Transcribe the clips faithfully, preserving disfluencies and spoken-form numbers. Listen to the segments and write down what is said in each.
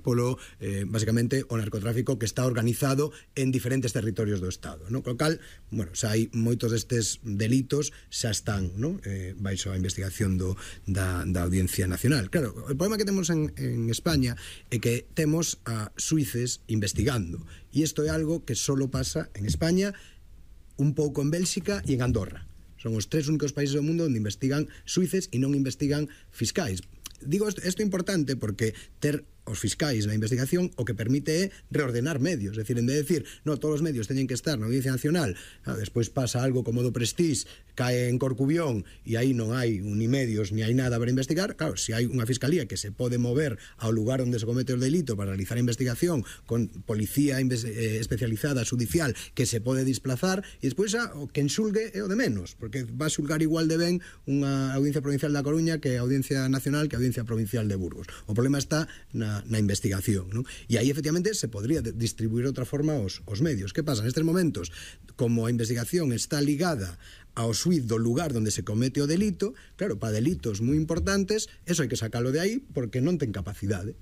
polo, eh, basicamente, o narcotráfico que está organizado en diferentes territorios do Estado, non? Co cal, bueno, xa hai moitos destes delitos xa están, non? Eh, baixo a investigación do, da, da Audiencia Nacional. Claro, o problema que temos en, en España é que temos a suíces investigando, e isto é algo que solo pasa en España, un pouco en Bélxica e en Andorra. Son os tres únicos países do mundo onde investigan suíces e non investigan fiscais. Digo isto, isto é importante porque ter os fiscais na investigación o que permite é reordenar medios, é dicir, en vez de decir, no, todos os medios teñen que estar na Audiencia Nacional, ah, despois pasa algo como do Prestige, cae en Corcubión e aí non hai ni medios ni hai nada para investigar. Claro, se hai unha fiscalía que se pode mover ao lugar onde se comete o delito para realizar a investigación con policía eh, especializada, judicial, que se pode desplazar, e despois ah, o que enxulgue é o de menos, porque va a xulgar igual de ben unha Audiencia Provincial da Coruña que a Audiencia Nacional que a Audiencia Provincial de Burgos. O problema está na na investigación, non? E aí efectivamente se podría distribuir de outra forma os, os medios. Que pasa? Nestes momentos, como a investigación está ligada ao xuiz do lugar onde se comete o delito, claro, para delitos moi importantes, eso hai que sacalo de aí porque non ten capacidade.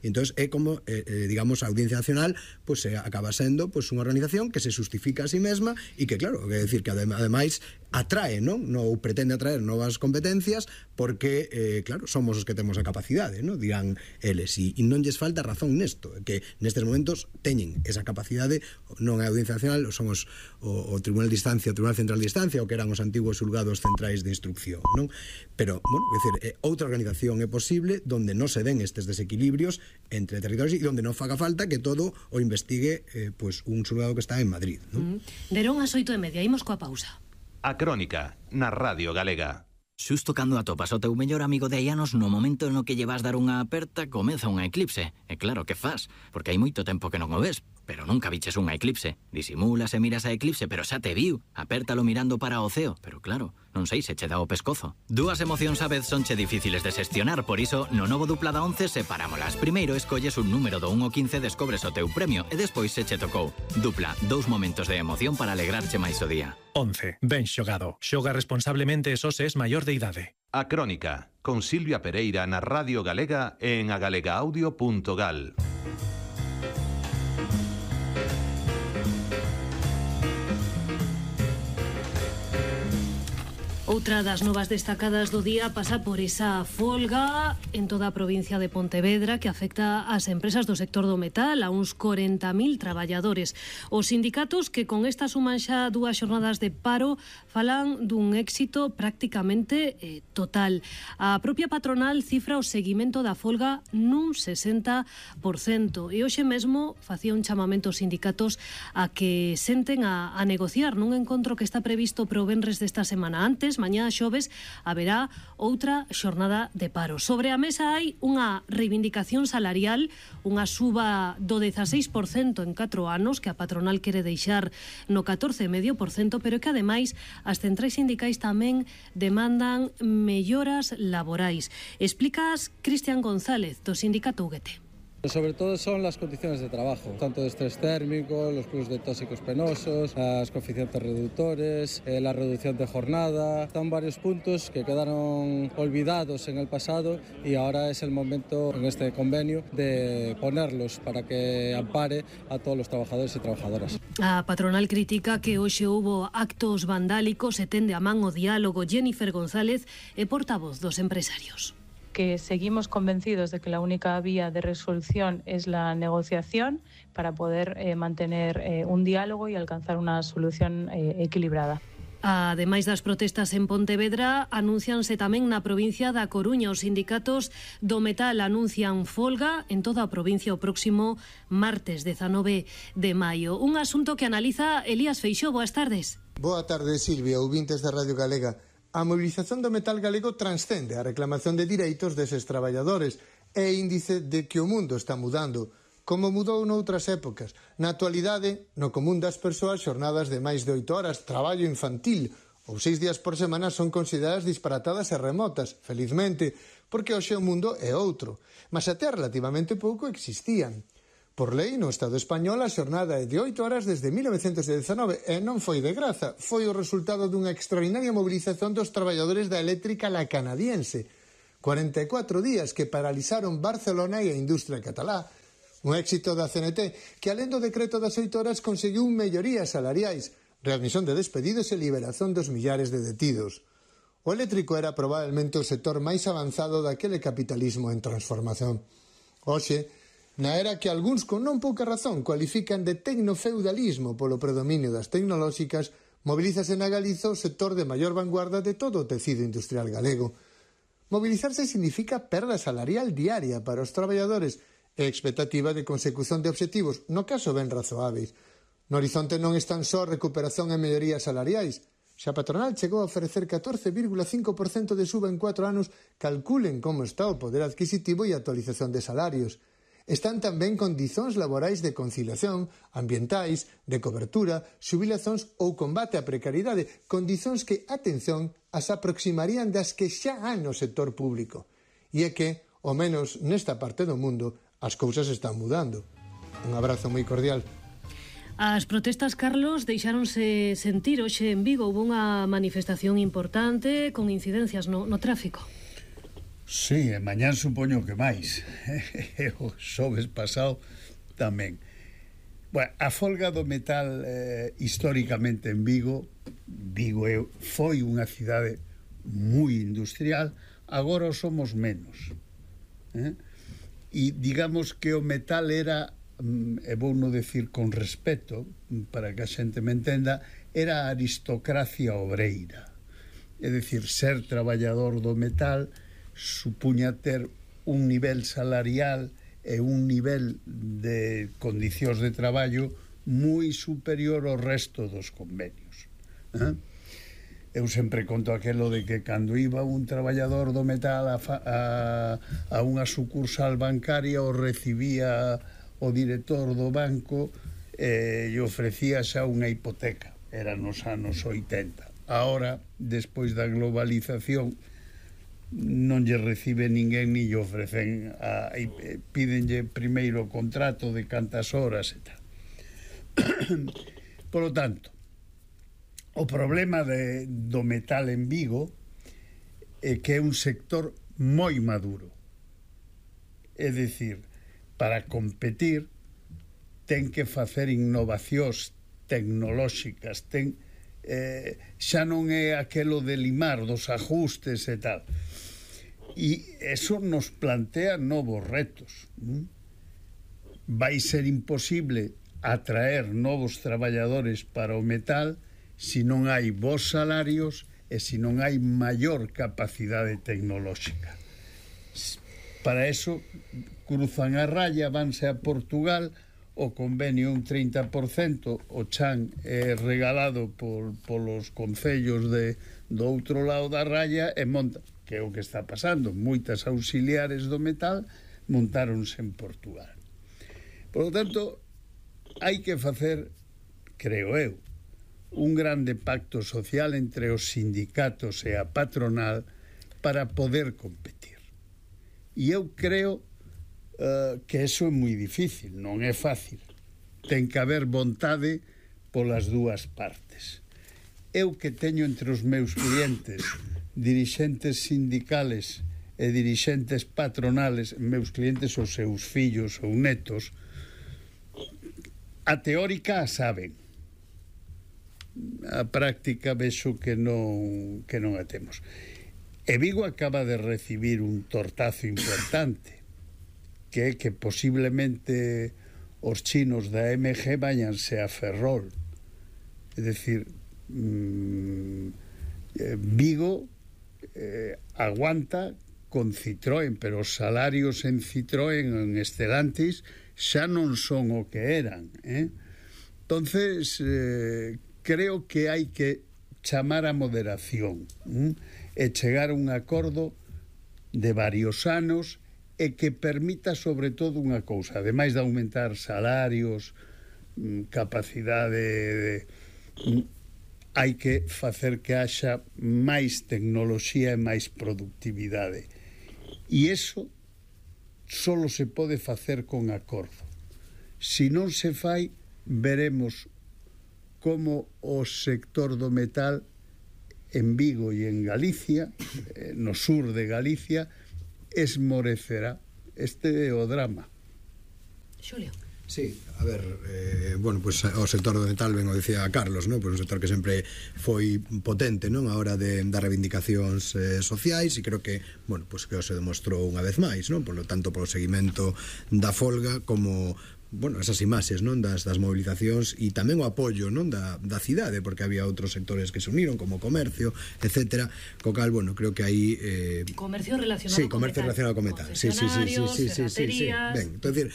E entón é como, eh, eh, digamos, a Audiencia Nacional pues, eh, acaba sendo pues, unha organización que se justifica a sí mesma e que, claro, é dicir que ademais atrae, non? No, ou pretende atraer novas competencias porque, eh, claro, somos os que temos a capacidade, non? Dirán eles, e, e non lles falta razón nesto, que nestes momentos teñen esa capacidade, non a Audiencia Nacional, son os, o, o Tribunal de Instancia, o Tribunal Central de Instancia, o que eran os antigos xulgados centrais de instrucción, non? Pero, bueno, é dicir, eh, outra organización é posible donde non se den estes desequilibrios entre territorios e onde non faga falta que todo o investigue eh, pues, un xulgado que está en Madrid, non? Mm. Derón ás oito e media, imos coa pausa. A Crónica, na Radio Galega. Xusto cando atopas o teu mellor amigo de hai anos, no momento no que lle vas dar unha aperta, comeza unha eclipse. E claro, que faz? Porque hai moito tempo que non o ves, pero nunca viches unha eclipse. Disimulas e miras a eclipse, pero xa te viu. Apértalo mirando para o ceo, pero claro, non sei se che dá o pescozo. Dúas emocións a vez son che difíciles de xestionar, por iso, no novo dupla da once separámolas. Primeiro escolles un número do un ao quince, descobres o teu premio, e despois se che tocou. Dupla, dous momentos de emoción para alegrarche máis o día. once. Ben xogado. Xoga responsablemente e só se es maior de idade. A Crónica, con Silvia Pereira na Radio Galega e en agalegaudio punto gal. Outra das novas destacadas do día pasa por esa folga en toda a provincia de Pontevedra que afecta ás empresas do sector do metal, a uns corenta mil traballadores. Os sindicatos que con esta suman xa dúas xornadas de paro falan dun éxito prácticamente eh, total. A propia patronal cifra o seguimento da folga nun sesenta por cento e hoxe mesmo facía un chamamento aos sindicatos a que senten a, a negociar nun encontro que está previsto pro venres desta semana. Antes, mañá xoves, haberá outra xornada de paro. Sobre a mesa hai unha reivindicación salarial, unha suba do dezaseis por cento en catro anos que a patronal quere deixar no catorce vírgula cinco por cento, pero que ademais as centrais sindicais tamén demandan melloras laborais. Explicas Cristian González, do sindicato U G T. Sobre todo son las condiciones de trabajo, tanto de estrés térmico, los clubes de tóxicos penosos, los coeficientes reductores, eh, la reducción de jornada. Están varios puntos que quedaron olvidados en el pasado y ahora es el momento en este convenio de ponerlos para que ampare a todos los trabajadores y trabajadoras. A patronal critica que hoxe hubo actos vandálicos e tende a man o diálogo. Jennifer González é portavoz dos empresarios. Que seguimos convencidos de que la única vía de resolución es la negociación para poder eh, mantener eh, un diálogo y alcanzar una solución eh, equilibrada. Ademais das protestas en Pontevedra, anúncianse tamén na provincia da Coruña. Os sindicatos do metal anuncian folga en toda a provincia o próximo martes dezanove de maio. Un asunto que analiza Elías Feixó. Boas tardes. Boa tarde, Silvia, ouvintes da Radio Galega. A mobilización do metal galego transcende a reclamación de direitos deses traballadores e índice de que o mundo está mudando, como mudou noutras épocas. Na actualidade, no común das persoas, xornadas de máis de oito horas, traballo infantil ou seis días por semana son consideradas disparatadas e remotas, felizmente, porque hoxe o mundo é outro. Mas até relativamente pouco existían. Por lei, no Estado español, a xornada é de oito horas desde mil novecentos dezanove e non foi de graza, foi o resultado dunha extraordinaria mobilización dos traballadores da eléctrica la canadiense. cuarenta e catro días que paralizaron Barcelona e a industria catalá, Un éxito da C N T que, alén do decreto das oito horas, conseguiu mellorías salariais, readmisión de despedidos e liberación dos millares de detidos. O eléctrico era probablemente o sector máis avanzado daquele capitalismo en transformación. Hoxe, na era que algúns con non pouca razón cualifican de tecnofeudalismo polo predominio das tecnolóxicas, mobilízase na Galiza o sector de maior vanguarda de todo o tecido industrial galego. Mobilizarse significa perda salarial diaria para os traballadores e expectativa de consecución de obxectivos, no caso ben razoáveis. No horizonte non están só recuperación e mellorías salariais. Xa a patronal chegou a ofrecer catorce vírgula cinco por cento de suba en cuatro anos. Calculen como está o poder adquisitivo e actualización de salarios. Están tamén condicións laborais de conciliación, ambientais, de cobertura, xubilacións ou combate á precariedade, condicións que, atención, as aproximarían das que xa hai no sector público. E é que, ao menos nesta parte do mundo, as cousas están mudando. Un abrazo moi cordial. As protestas, Carlos, deixáronse sentir hoxe en Vigo. Houve unha manifestación importante con incidencias no, no tráfico. Sí, e mañán supoño que máis. O xoves pasado tamén. Bueno, a folga do metal eh, históricamente en Vigo, Vigo foi unha cidade moi industrial, agora o somos menos. Eh? E digamos que o metal era, e vou non decir con respeto, para que a xente me entenda, era a aristocracia obreira. É dicir, ser traballador do metal supuña ter un nivel salarial e un nivel de condicións de traballo moi superior ao resto dos convenios. Eh? Eu sempre conto aquelo de que cando iba un traballador do metal a, a, a unha sucursal bancaria o recibía o director do banco eh, e ofrecía xa unha hipoteca. Era nos anos oitenta. Ahora, despois da globalización, non lle recibe ninguén ni lle ofrecen a, a, pídenlle primeiro o contrato de cantas horas e tal. Por lo tanto, o problema de, do metal en Vigo é que é un sector moi maduro. É dicir, para competir ten que facer innovacións tecnolóxicas, ten, eh, xa non é aquelo de limar dos ajustes e tal. E eso nos plantea novos retos. Vai ser imposible atraer novos traballadores para o metal se non hai bons salarios e se non hai maior capacidade tecnolóxica. Para eso cruzan a raya, vanse a Portugal, o convenio un trinta por cento, o chan é regalado por, polos concellos de, do outro lado da raya e monta, que é o que está pasando. Moitas auxiliares do metal montáronse en Portugal. Por lo tanto, hai que facer, creo eu, un grande pacto social entre os sindicatos e a patronal para poder competir. E eu creo uh, que eso é moi difícil, non é fácil. Ten que haber vontade polas dúas partes. Eu que teño entre os meus clientes dirixentes sindicales e dirixentes patronales, meus clientes os seus fillos ou netos, a teórica a saben, a práctica vexo que non, que non a temos. E Vigo acaba de recibir un tortazo importante, que é que posiblemente os chinos da M G váyanse a Ferrol. É dicir, mmm, eh, Vigo eh, aguanta con Citroën, pero os salarios en Citroën, en Stellantis, xa non son o que eran. Eh? Entonces, eh, creo que hai que chamar a moderación eh? e chegar a un acordo de varios anos e que permita sobre todo unha cousa, ademais de aumentar salarios, capacidade de, hai que facer que haxa máis tecnoloxía e máis productividade, e iso solo se pode facer con acordo. Se non se fai, veremos como o sector do metal en Vigo e en Galicia, no sur de Galicia, esmorecerá. Este é o drama. Xulio. Sí, a ver, eh, bueno, pues o sector do metal, ben o decía Carlos, non? Pois un sector que sempre foi potente, non? A hora de das reivindicacións eh, sociais, e creo que, bueno, pues que se demostrou unha vez máis, non? Por lo tanto, polo seguimento da folga como bueno, esas imaxes, non, das, das movilizacións e tamén o apoio, non, da, da cidade, porque había outros sectores que se uniron, como comercio, etcétera, co cal, bueno, creo que aí eh... comercio relacionado sí, con comercio metal, relacionado con metal, sí, sí, sí, sí, sí, sí, sí, sí. Ben, então, decir,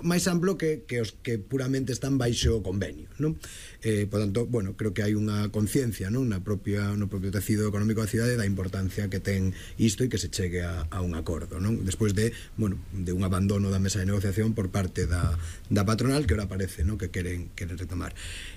máis amplo que, que os que puramente están baixo convenio, non? Eh, por tanto, bueno, creo que hai unha conciencia, non, na propia, no propio tecido económico da cidade da importancia que ten isto e que se chegue a, a un acordo, non? Despois de, bueno, de un abandono da mesa de negociación por parte da da patronal, que ahora parece, ¿no?, que queren, queren retomar.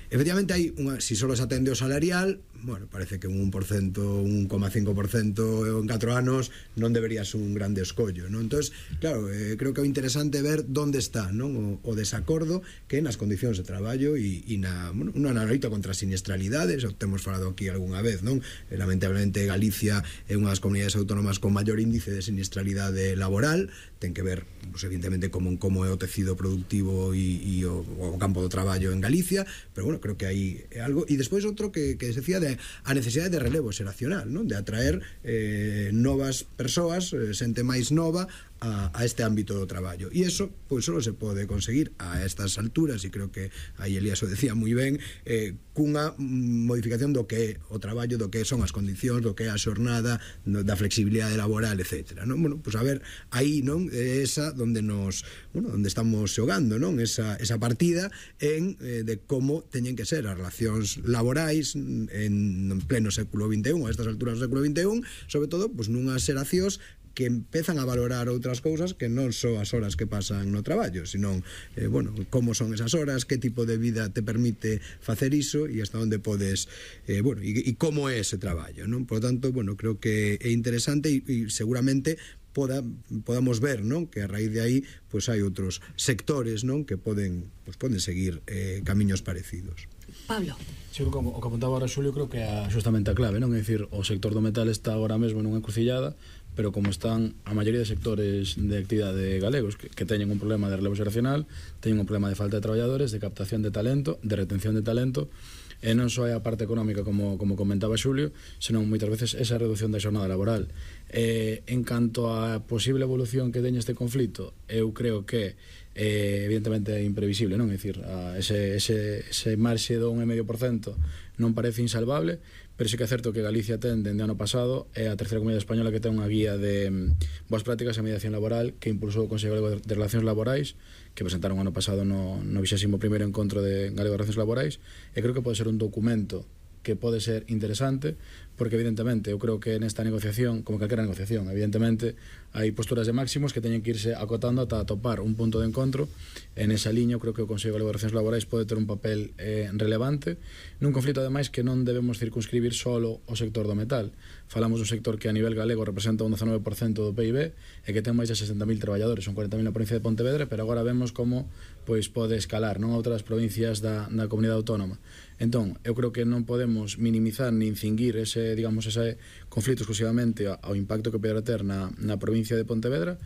Efectivamente, hai unha, si solo se atende o salarial, bueno, parece que un un por ciento, un coma cinco por ciento en catro anos non debería ser un grande escollo, non? Entonces, claro, eh, creo que é interesante ver onde está, non, o, o desacordo que nas condicións de traballo e, e na, bueno, unha analoita contra as siniestralidades, o temos falado aquí algunha vez, non? Eh, lamentablemente Galicia é unha das comunidades autónomas con maior índice de siniestralidade laboral, ten que ver, pues, evidentemente, como, como é o tecido productivo e, e o, o campo do traballo en Galicia, pero bueno, creo que hai algo. E despois outro que, que se decía de a necesidade de relevo xeracional, non? De atraer eh, novas persoas, eh, xente máis nova a, a este ámbito do traballo. E iso, pois, só se pode conseguir a estas alturas, e creo que aí Elías o decía moi ben, eh, cunha modificación do que é o traballo, do que son as condicións, do que é a xornada, da flexibilidade laboral, etcétera, non? Bueno, pois a ver, aí, non, é esa onde nos, bueno, onde estamos xogando, non? Esa, esa partida en eh, de como teñen que ser as relacións laborais en, en pleno século vinte e un, a estas alturas do século vinte e un, sobre todo, pois nunhas xeracións que empezan a valorar outras cousas que non só as horas que pasan no traballo, sino, eh, bueno, como son esas horas, que tipo de vida te permite facer iso e hasta onde podes, eh, bueno, e, e como é ese traballo, non? Por tanto, bueno, creo que é interesante e, e seguramente poda, podamos ver, non, que a raíz de aí pois hai outros sectores, non, que poden, pois poden seguir eh, camiños parecidos. Pablo. Sí, como, o que apuntaba ahora Xulio, creo que é justamente a clave, non? É dicir, o sector do metal está agora mesmo nunha encrucillada, pero como están a maioría de sectores de actividade galegos que, que teñen un problema de relevo xeracional, teñen un problema de falta de traballadores, de captación de talento, de retención de talento, e non só é a parte económica como, como comentaba Xulio, senón moitas veces esa reducción da xornada laboral. Eh, en canto á posible evolución que teña este conflito, eu creo que eh, evidentemente é imprevisible, non? É dicir, a ese, ese, ese marxe do un coma cinco por ciento non parece insalvable, pero sí que é certo que Galicia ten, dende ano pasado, é a terceira comunidade española que ten unha guía de boas prácticas en mediación laboral que impulsou o Consello Galego de Relacións Laborais, que presentaron ano pasado no, no vixésimo primeiro encontro de Galego de Relacións Laborais, e creo que pode ser un documento que pode ser interesante, porque evidentemente eu creo que nesta negociación, como calquera negociación, evidentemente hai posturas de máximos que teñen que irse acotando ata atopar un punto de encontro. En esa liña, eu creo que o Consello Galego de Relacións Laborais pode ter un papel eh, relevante nun conflito, ademais, que non debemos circunscribir solo o sector do metal. Falamos dun sector que a nivel galego representa un dezanove por cento do P I B e que ten máis de sesenta mil traballadores, son cuarenta mil na provincia de Pontevedra, pero agora vemos como pois pode escalar, non, a outras provincias da, da comunidade autónoma. Entón, eu creo que non podemos minimizar nin cinguir ese, digamos, ese conflito exclusivamente ao impacto que poderá ter na, na provincia de Pontevedra.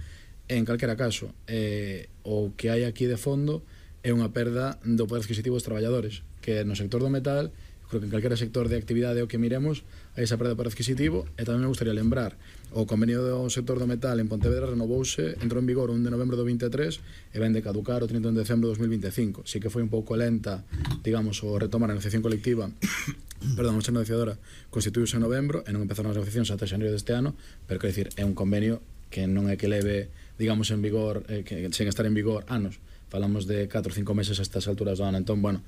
En calquera caso, eh, o que hai aquí de fondo é unha perda do poder adquisitivo dos traballadores, que no sector do metal, creo que en calquera sector de actividade o que miremos hai esa perda de poder adquisitivo. E tamén me gustaría lembrar, o convenio do sector do metal en Pontevedra renovouse, entrou en vigor o un de novembro do vinte e tres e ven de caducar o trinta de decembro do dos mil vinte e cinco. Si que foi un pouco lenta, digamos, o retomar a negociación colectiva perdón, a mesa negociadora constituíuse en novembro e non empezaron as negociacións ata xaneiro deste ano, pero quero dicir, é un convenio que non é que leve, digamos, en vigor, eh, que, sen estar en vigor anos. Falamos de catro ou cinco meses a estas alturas do ano. Entón, bueno,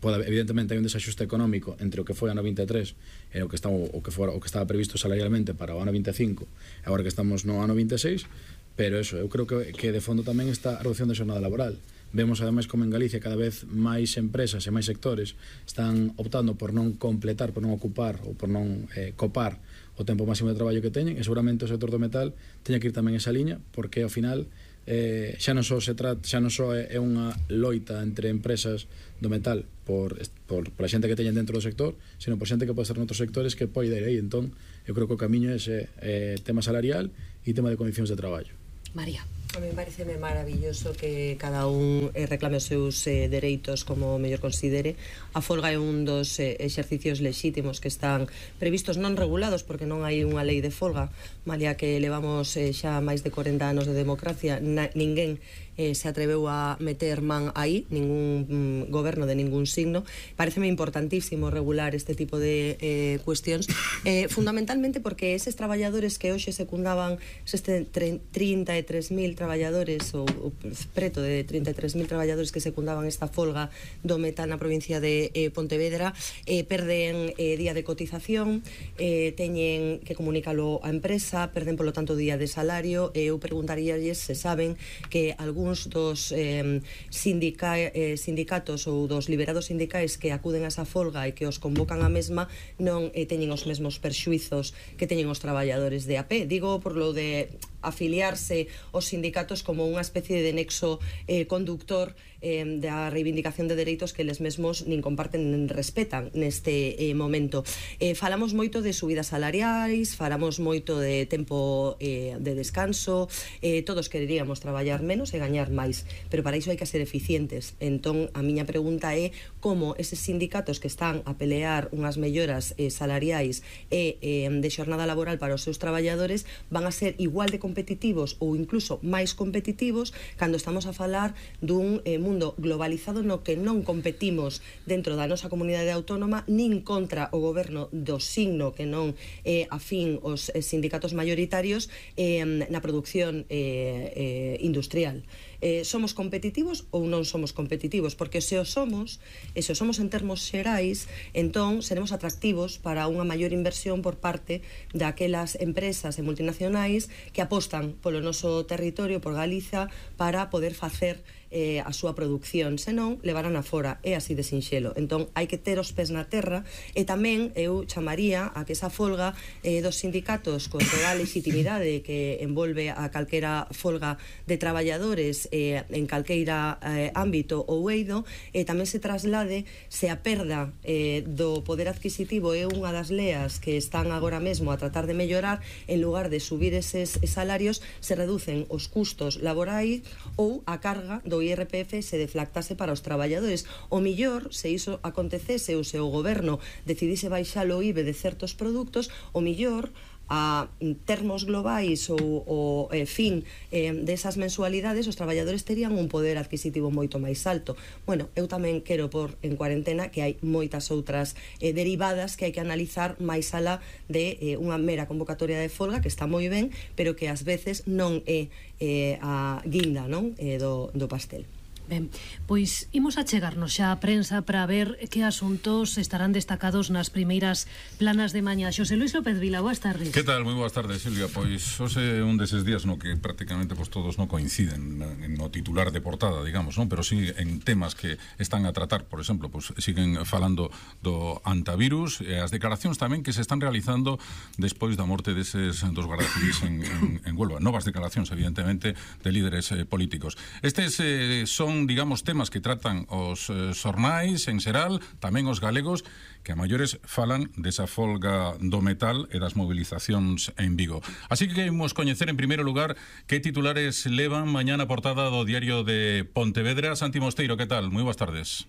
pode, evidentemente hai un desaxuste económico entre o que foi ano vinte e tres e o que estaba, o que fora, o que estaba previsto salarialmente para o ano vinte e cinco e agora que estamos no ano vinte e seis, pero eso, eu creo que, que de fondo tamén está a reducción da xornada laboral. Vemos ademais como en Galicia cada vez máis empresas e máis sectores están optando por non completar, por non ocupar ou por non eh, copar o tempo máximo de traballo que teñen, e seguramente o sector do metal teña que ir tamén esa liña, porque ao final eh, xa non só se trata, xa non só é, é unha loita entre empresas do metal por, por, por a xente que teñen dentro do sector, sino por xente que pode estar noutros sectores que pode ir aí. Entón, eu creo que o camiño é ese eh, tema salarial e tema de condicións de traballo. María. A mí pareceme maravilloso que cada un eh, reclame os seus eh, dereitos como mellor considere. A folga é un dos eh, exercicios lexítimos que están previstos, non regulados, porque non hai unha lei de folga, malia que levamos eh, xa máis de corenta anos de democracia, na, ninguén eh, se atreveu a meter man aí, ningún mm, goberno de ningún signo. Pareceme importantísimo regular este tipo de eh, cuestións, eh, fundamentalmente porque eses traballadores que hoxe secundaban este trinta e tres mil traballadores ou, ou preto de trinta e tres mil traballadores que secundaban esta folga do metal na provincia de eh, Pontevedra eh, perden eh, día de cotización, eh, teñen que comunicalo á empresa, perden polo tanto día de salario. Eu preguntaríalles se saben que algúns dos eh, sindica, eh, sindicatos ou dos liberados sindicais que acuden a esa folga e que os convocan a mesma non eh, teñen os mesmos perxuizos que teñen os traballadores de a pé. Digo por lo de afiliarse aos sindicatos como unha especie de nexo eh, conductor eh, da reivindicación de dereitos que eles mesmos nin comparten nin respetan neste eh, momento. Eh, falamos moito de subidas salariais, falamos moito de tempo eh, de descanso, eh, todos quereríamos traballar menos e gañar máis, pero para iso hai que ser eficientes. Entón, a miña pregunta é como eses sindicatos que están a pelear unhas melloras eh, salariais e eh, de xornada laboral para os seus traballadores van a ser igual de competitivos ou incluso máis competitivos cando estamos a falar dun eh, mundo globalizado no que non competimos dentro da nosa comunidade autónoma nin contra o goberno do signo que non é eh, afín os eh, sindicatos mayoritarios eh, na produción eh, eh, industrial. Eh, somos competitivos ou non somos competitivos? Porque se o somos, e se o somos en termos xerais, entón seremos atractivos para unha maior inversión por parte daquelas empresas e multinacionais que apostan polo noso territorio, por Galiza, para poder facer eh, a súa produción, senón levarán a fora, é así de sinxelo. Entón hai que ter os pés na terra e tamén eu chamaría a que esa folga eh, dos sindicatos con toda a legitimidade que envolve a calquera folga de traballadores eh, en calqueira eh, ámbito ou eido, eh, tamén se traslade se a perda eh, do poder adquisitivo é unha das leas que están agora mesmo a tratar de mellorar, en lugar de subir eses salarios se reducen os custos laborais ou a carga do I R P F se deflactase para os traballadores. O millor, se iso acontecese ou se o goberno decidise baixar o I V A de certos produtos, o millor a termos globais ou o eh, fin eh, desas mensualidades, os traballadores terían un poder adquisitivo moito máis alto. Bueno, eu tamén quero por en cuarentena que hai moitas outras eh, derivadas que hai que analizar máis alá de eh, unha mera convocatoria de folga que está moi ben, pero que ás veces non é eh, a guinda, non, eh, do, do pastel. Ben, pois imos a chegarnos xa a prensa para ver que asuntos estarán destacados nas primeiras planas de mañá. Xosé Luis López Vila, boas tardes. Que tal? Moi boas tardes, Silvia. Pois hoxe un deses días no que prácticamente pues, todos non coinciden no titular de portada, digamos, non? Pero sí en temas que están a tratar. Por exemplo, pues, siguen falando do antivirus e as declaracións tamén que se están realizando despois da morte deses dos guardacivis en, en, en Huelva. Novas declaracións, evidentemente, de líderes eh, políticos. Estes eh, son digamos, temas que tratan os eh, xornais en xeral, tamén os galegos, que a maiores falan desa folga do metal e das movilizacións en Vigo. Así que queremos coñecer en primeiro lugar que titulares levan mañá na portada do diario de Pontevedra. Santi Mosteiro, que tal? Moi boas tardes.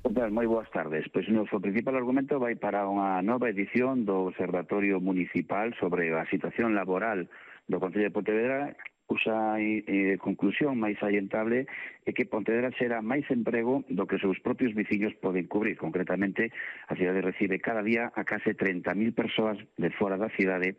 Que tal? Moi boas tardes. Pois o noso principal argumento vai para unha nova edición do Observatorio Municipal sobre a situación laboral do Concello de Pontevedra, cuxa eh, conclusión máis salientable é que Pontevedra será máis emprego do que os seus propios veciños poden cubrir. Concretamente, a cidade recibe cada día a case trinta mil persoas de fora da cidade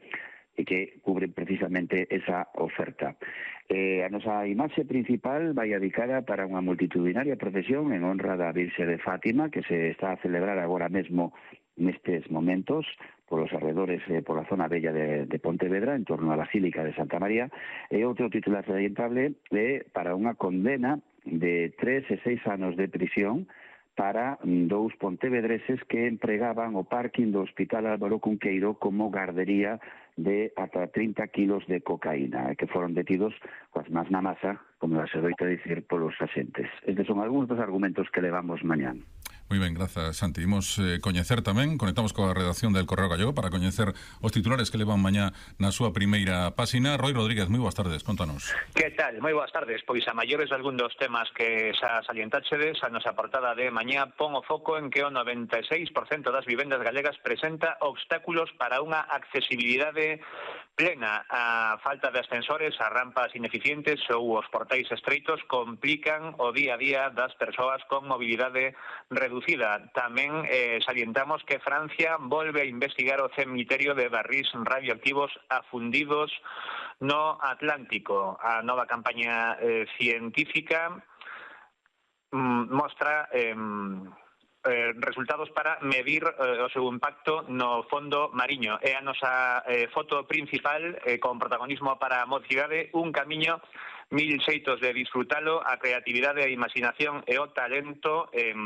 e que cubren precisamente esa oferta. Eh, a nosa imaxe principal vai dedicada para unha multitudinaria procesión en honra da Virxe de Fátima que se está a celebrar agora mesmo nestes momentos polos arredores, eh, pola zona bella de, de Pontevedra, en torno á Basílica de Santa María. E outro titular salientable é para unha condena de tres e seis anos de prisión para dous pontevedreses que empregaban o parking do Hospital Álvaro Cunqueiro como gardería de ata trinta kilos de cocaína, que foron detidos coas más na masa como se doita dicir polos axentes. Estes son algúns dos argumentos que levamos mañán. Moi ben, grazas, Santi. Imos eh, coñecer tamén, conectamos coa redacción del Correo Gallego para coñecer os titulares que levan mañá na súa primeira páxina. Roy Rodríguez, moi boas tardes, contanos. Que tal? Moi boas tardes. Pois a maiores algún dos temas que xa salientáchedes, a nosa portada de mañá pon o foco en que o noventa e seis por cento das vivendas galegas presenta obstáculos para unha accesibilidade plena. A falta de ascensores, as rampas ineficientes ou os portais estreitos complican o día a día das persoas con mobilidade reducida. Tamén eh, salientamos que Francia volve a investigar o cemiterio de barrís radioactivos afundidos no Atlántico. A nova campaña eh, científica mm, mostra eh, eh, resultados para medir eh, o seu impacto no fondo mariño. É a nosa eh, foto principal eh, con protagonismo para a mocidade, un camiño, mil xeitos de disfrutalo, a creatividade, a imaginación e o talento eh,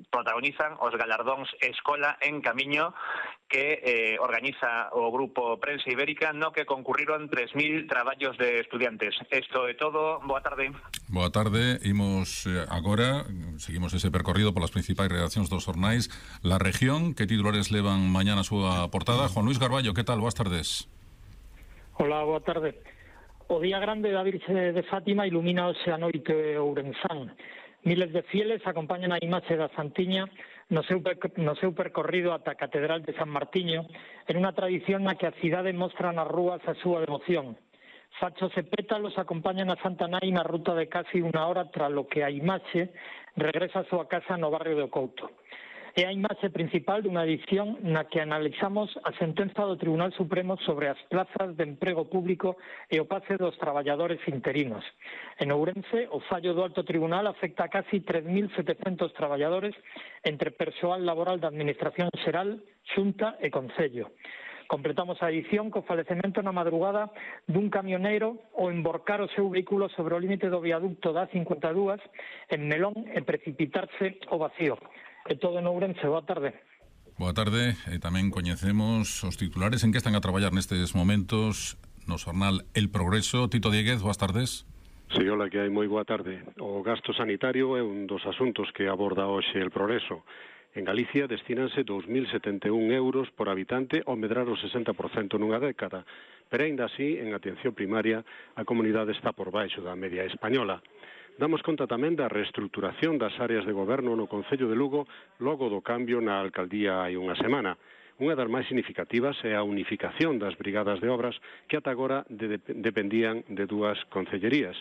protagonizan os galardóns Escola en Camiño que eh, organiza o Grupo Prensa Ibérica, no que concurriron tres mil traballos de estudiantes. Isto é todo, boa tarde. Boa tarde, imos eh, agora, seguimos ese percorrido polas principais redaccións dos xornais. La Región, que titulares levan mañá na súa portada? Juan Luis Garballo, que tal? Boas tardes. Hola, boa tarde. O día grande da Virxe de Fátima ilumina hoxe a noite ourensán. Miles de fieles acompañan a imaxe da Santiña no seu, no seu percorrido ata a Catedral de San Martiño, en unha tradición na que a cidade mostra nas rúas a súa devoción. Fachos e pétalos acompañan a Santa Nai na ruta de casi unha hora tras lo que a imaxe regresa a súa casa no barrio do Couto. É a imaxe principal dunha edición na que analizamos a sentenza do Tribunal Supremo sobre as plazas de emprego público e o pace dos traballadores interinos. En Ourense, o fallo do Alto Tribunal afecta a casi tres mil setecentos traballadores entre persoal laboral da Administración Xeral, Xunta e Concello. Completamos a edición co falecemento na madrugada dun camioneiro ao emborcar o seu vehículo sobre o límite do viaducto da cincuenta e dúas en Melón e precipitarse ao vacío. É todo en Ourense, boa tarde. Boa tarde, e tamén coñecemos os titulares en que están a traballar nestes momentos no xornal El Progreso. Tito Dieguez, boas tardes. Sí, hola, que hai moi boa tarde. O gasto sanitario é un dos asuntos que aborda hoxe El Progreso. En Galicia destínanse dous mil setenta e un euros por habitante ao medrar o sesenta por cento nunha década, pero aínda así, en atención primaria, a comunidade está por baixo da media española. Damos conta tamén da reestruturación das áreas de goberno no Concello de Lugo logo do cambio na alcaldía hai unha semana. Unha das máis significativas é a unificación das brigadas de obras que ata agora de, de, dependían de dúas concellerías.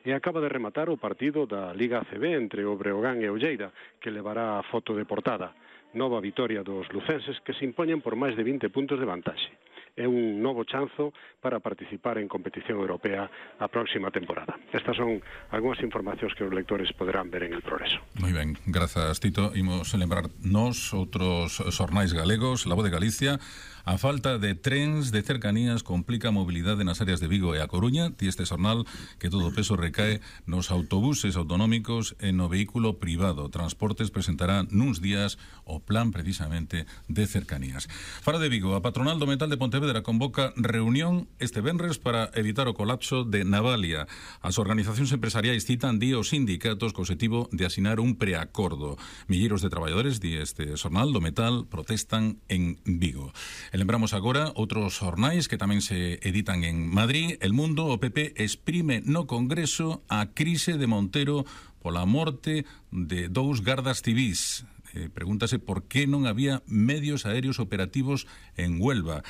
E acaba de rematar o partido da Liga A C B entre o Breogán e o Lleida, que levará a foto de portada. Nova vitoria dos lucenses que se impoñen por máis de vinte puntos de vantaxe. É un novo chanzo para participar en competición europea a próxima temporada. Estas son algunhas informacións que os lectores poderán ver en El Progreso. Moi ben, grazas, Tito. Imos lembrar nos outros xornais galegos, La Voz de Galicia. A falta de trens de cercanías complica a mobilidade nas áreas de Vigo e a Coruña. Ti este xornal que todo o peso recae nos autobuses autonómicos e no vehículo privado. Transportes presentará nuns días o plan precisamente de cercanías. Fara de Vigo, a patronal do metal de Pontevedra convoca reunión este venres para evitar o colapso de Navalia. As organizacións empresariais citan di os sindicatos co objetivo de asinar un preacordo. Milleiros de traballadores, di este xornal do metal, protestan en Vigo. E lembramos agora outros xornais que tamén se editan en Madrid. El Mundo, o P P exprime no Congreso a crise de Montero pola morte de dous gardas civís. Eh, pregúntase por que non había medios aéreos operativos en Huelva.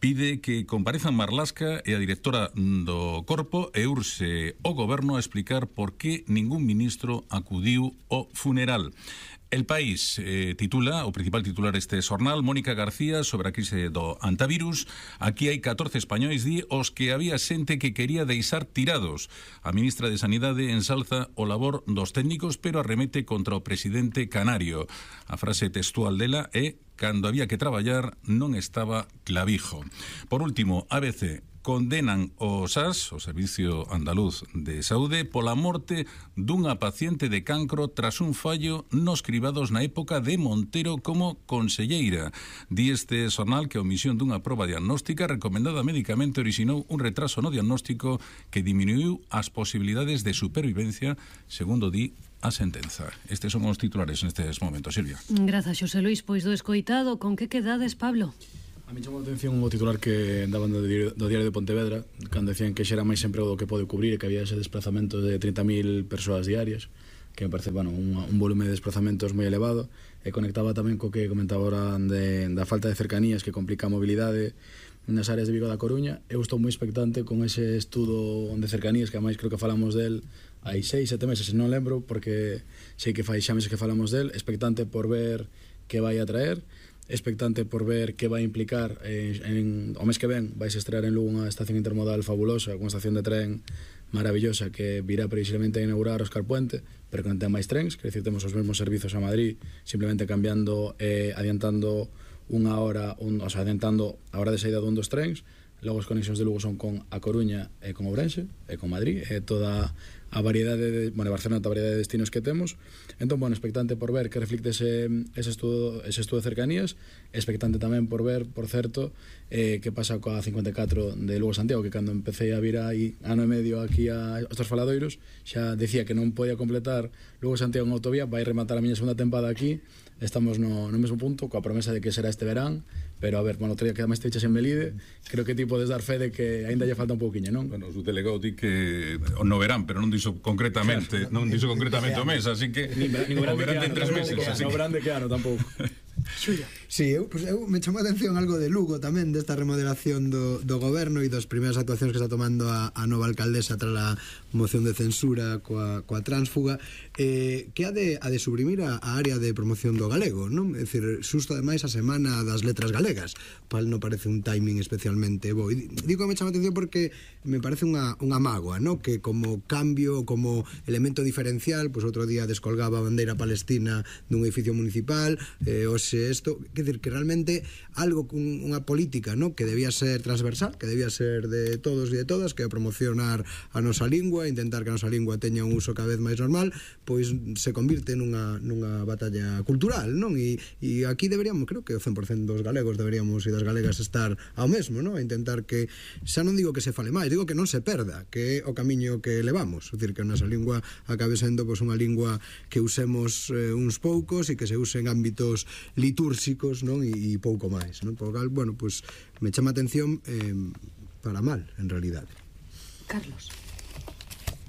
Pide que comparezan Marlasca e a directora do Corpo e urxe o Goberno a explicar por que ningún ministro acudiu ao funeral. El País eh, titula, o principal titular este xornal, Mónica García sobre a crise do antivirus. Aquí hai catorce españois, di, os que había xente que quería deixar tirados. A ministra de Sanidade ensalza o labor dos técnicos, pero arremete contra o presidente canario. A frase textual dela é: cando había que traballar non estaba clavijo. Por último, A B C condenan o S A S, o Servicio Andaluz de Saúde, pola morte dunha paciente de cancro tras un fallo nos cribados na época de Montero como conselleira. Di este xornal que a omisión dunha proba diagnóstica recomendada médicamente orixinou un retraso no diagnóstico que diminuiu as posibilidades de supervivencia, segundo di a sentenza. Estes son os titulares nestes momentos, Silvia. Grazas, Xosé Luis. Pois do escoitado, con que quedades, Pablo? A mí chamou a atención o titular que daban do diario, do diario de Pontevedra, cando decían que xa era máis emprego do que pode cubrir e que había ese desplazamento de trinta mil persoas diarias, que me parece, bueno, un, un volume de desplazamentos moi elevado, e conectaba tamén co que comentaba ahora de, da falta de cercanías que complica a mobilidade nas áreas de Vigo da Coruña. Eu estou moi expectante con ese estudo de cercanías, que ademais creo que falamos del hai seis, sete meses, non lembro, porque sei que fai xa meses que falamos del, expectante por ver que vai a traer, expectante por ver que vai implicar eh, en, o mes que ven vais a estrear en Lugo unha estación intermodal fabulosa, unha estación de tren maravillosa que virá precisamente a inaugurar Óscar Puente, pero que non ten máis trens, que decir, temos os mesmos servizos a Madrid, simplemente cambiando, eh, adiantando unha hora, un, o sea, adiantando a hora de saída dun dos trens. Logo as conexións de Lugo son con A Coruña e con Ourense e con Madrid, e toda a variedade de, bueno, Barcelona, toda a variedade de destinos que temos. Entón, bueno, expectante por ver que reflicte ese, ese, estudo, ese estudo de cercanías, expectante tamén por ver, por certo, eh, que pasa coa cincuenta e catro de Lugo Santiago, que cando empecé a vir aí ano e medio aquí a estos faladoiros, xa decía que non podía completar Lugo Santiago en autovía, vai rematar a miña segunda tempada aquí, estamos no, no mesmo punto, coa promesa de que será este verán, pero a ver, bueno, outro día que además te echas en Melide, creo que ti podes dar fe de que aínda lle falta un pouquiño, non? Bueno, o delegado di que no verán, pero non dixo concretamente, non dixo concretamente o mes, así que o verán en tres meses, así que... No verán de que ano tampouco. Xulia. Sí, eu, pues, eu me chamou a atención algo de Lugo tamén, desta remodelación do, do goberno e das primeiras actuacións que está tomando a, a nova alcaldesa tras a moción de censura coa, coa tránsfuga, eh, que ha de, a de suprimir a, a área de promoción do galego, non? É dicir, susto ademais a semana das letras galegas, pal non parece un timing especialmente bo. E digo que me chama a atención porque me parece unha, unha mágoa, non? Que como cambio, como elemento diferencial, pues outro día descolgaba a bandeira palestina dun edificio municipal, eh, hoxe isto, que decir, que realmente algo, unha política, ¿no?, que debía ser transversal, que debía ser de todos e de todas, que é promocionar a nosa lingua, intentar que a nosa lingua teña un uso cada vez máis normal, pois se convirte nunha, nunha batalla cultural, non? E, e aquí deberíamos, creo que o cen por cento dos galegos deberíamos e das galegas estar ao mesmo, non? A intentar que, xa non digo que se fale máis, digo que non se perda, que é o camiño que levamos, é dicir, que a nosa lingua acabe sendo pois, unha lingua que usemos eh, uns poucos e que se use en ámbitos litúrxicos, non? E, e pouco máis, non? Por cal, bueno, pues me chama atención eh, para mal, en realidade. Carlos.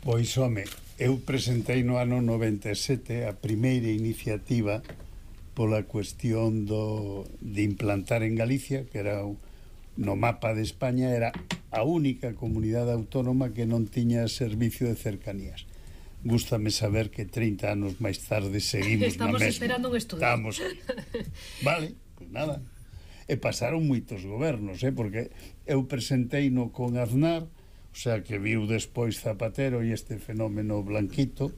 Pois, home, eu presentei no ano noventa e sete a primeira iniciativa pola cuestión do, de implantar en Galicia, que era no mapa de España, era a única comunidade autónoma que non tiña servicio de cercanías. Gústame saber que trinta anos máis tarde seguimos Estamos na mesma. esperando un estudio. Estamos. Vale, pues nada. E pasaron moitos gobernos, eh, porque eu presentei no con Aznar, o sea, que viu despois Zapatero e este fenómeno Blanquito,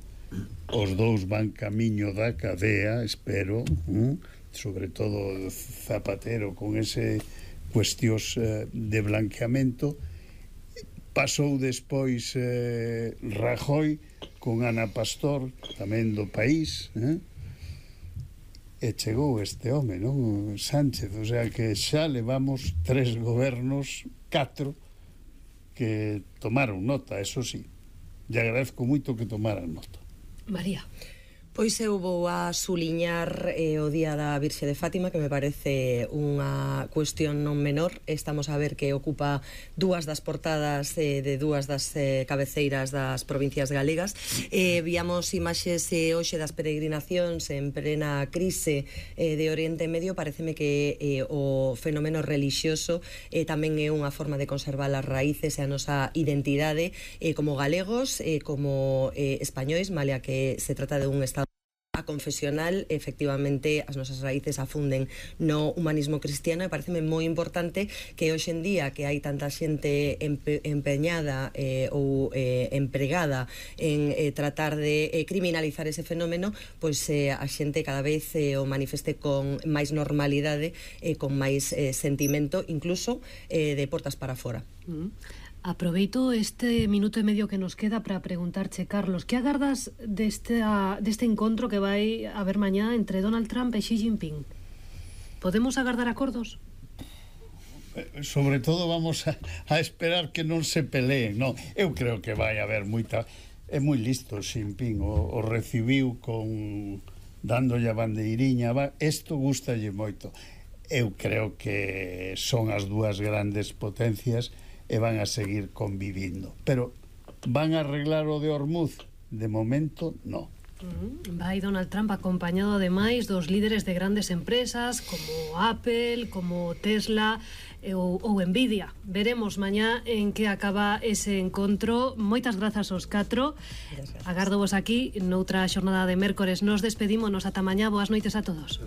os dous van camiño da cadea, espero, ¿eh? Sobre todo Zapatero con ese cuestións eh, de blanqueamento. Pasou despois eh, Rajoy con Ana Pastor, tamén do país, eh? E chegou este home, non? Sánchez, o sea que xa levamos tres gobernos, catro, que tomaron nota, eso sí. E agradezco moito que tomaran nota. María. Pois eu vou a suliñar eh, o Día da Virxe de Fátima, que me parece unha cuestión non menor. Estamos a ver que ocupa dúas das portadas eh, de dúas das eh, cabeceiras das provincias galegas. Eh, víamos imaxes eh, hoxe das peregrinacións en plena crise eh, de Oriente Medio. Pareceme que eh, o fenómeno relixioso eh, tamén é unha forma de conservar as raíces e a nosa identidade eh, como galegos, eh, como eh, españois, malia que se trata de un estado a confesional, efectivamente, as nosas raíces afunden no humanismo cristiano, e pareceme moi importante que hoxe en día que hai tanta xente empe empeñada eh, ou eh, empregada en eh, tratar de eh, criminalizar ese fenómeno, pois eh, a xente cada vez eh, o manifeste con máis normalidade e eh, con máis eh, sentimento, incluso eh, de portas para fora. Mm. Aproveito este minuto e medio que nos queda para preguntarche, Carlos, que agardas deste, deste encontro que vai haber mañá entre Donald Trump e Xi Jinping? Podemos agardar acordos? Sobre todo vamos a, a esperar que non se peleen, non? Eu creo que vai haber moita... É moi listo Xi Jinping, o, o recibiu con... dándolle a bandeiriña, va, isto gustalle moito. Eu creo que son as dúas grandes potencias e van a seguir convivindo. Pero van a arreglar o de Hormuz? De momento, no. Mm, vai Donald Trump acompañado ademais dos líderes de grandes empresas como Apple, como Tesla ou, ou Nvidia. Veremos mañá en que acaba ese encontro. Moitas grazas aos catro. Agardo vos aquí noutra xornada de mércores. Nos despedímonos ata mañá. Boas noites a todos.